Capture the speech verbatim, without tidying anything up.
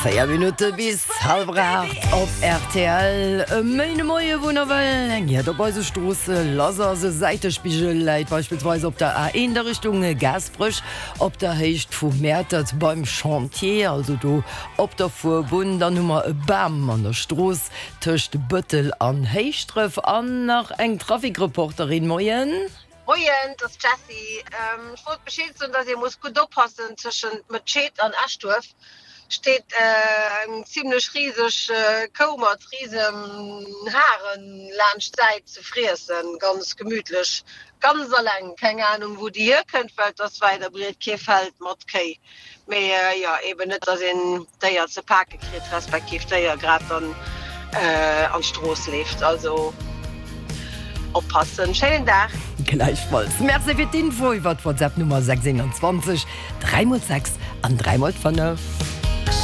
Véier Minutte bis hallwer aacht op rtl. E Méindemoie wou nawell eng Hiert op eise Stroosse lass ass. E Säitespigel läit beispillsweis op der A eent a Richtung Gaasperech op der Héicht vu Mäertert beim Chantier, also do op der Fuerbunn. Dann hu mer e Bam an der Strooss tëscht Bëttel an Héischdref. An nach eng Trafikreporterin. Moien. Moien, et ass d'Jessie. Ech wollt Bescheed soen, dass ee muss gutt oppassen, tëschent Mëtscheed an Eschduerf steet eng zimlech riseg Kou mat risen Haren laanscht d'Säit ze friessen, ganz gemütlech, ganz alleng. Keng Ahnung wou déi hierkënnt, well et ass wäit a breet kee Feld mat Kéi. Mee jo, eben net dass een d'Déier ze pake kritt, respektiv d'Déier grad dann an d'Strooss leeft. Also oppassen. Schéinen Dag! Gläichfalls. Merci fir d'Info iwwer d'WhatsApp Nummer sechs eenundzwanzeg dräi mol sechs an dräi mol fënnef.